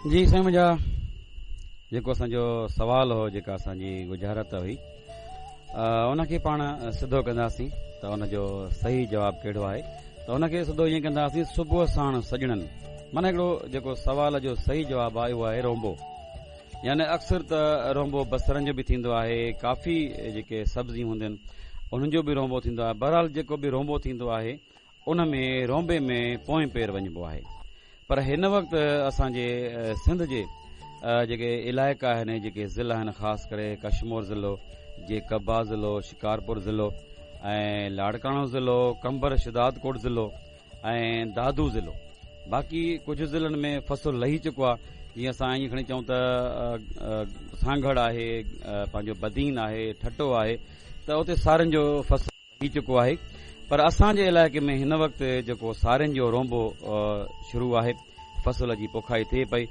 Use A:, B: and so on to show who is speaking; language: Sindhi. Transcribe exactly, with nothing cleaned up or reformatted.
A: جي سائين، منهنجا جيڪو اسان جو سوال هو، جيڪا اسان جي ڳجهارت هئي، ان کي پاڻ سڌو ڪنداسين ته ان جو صحيح جواب ڪهڙو آهي. ته ان کي سڌو ائين ڪنداسين، صبح ساڻ سڄڻن، معنيٰ هڪڙو جيڪو سوال جو صحيح جواب آهي، اهو آهي رونبو. يعني اڪثر ته رونبو بصرن جو به ٿيندو آهي، ڪافي جيڪي سبزيون هونديون آهن، انهن جو به رونبو ٿيندو آهي. بهرحال جيڪو به رونبو ٿيندو آهي، ان ۾ رونبي ۾ پوئين پير وڃبو آهي. پر هن وقت اسان جي سنڌ جي جيڪي علائقا آهن، جيڪي ضلع آهن، خاص ڪري ڪشمور ضلعو، جيڪب آباد ضلعو، شڪارپور ضلعو ۽ لاڙڪاڻو ضلعو، قمبر شهدادڪوٽ ضلعو ۽ دادو ضلعو، باقي ڪجهه ضلعن ۾ فصل لهي چڪو آهي. جيئن اسان ائين کڻي چئون ته سانگهڙ آهي، پنهنجو بدين آهي، ٺٽو آهي، ته اتي سارين جو فصل لهي چڪو آهي. پر اسان جي علائقي ۾ هن وقت جيڪو سارين جو رونبو شروع آهي، فصل جي پوکائي ٿئي پئي.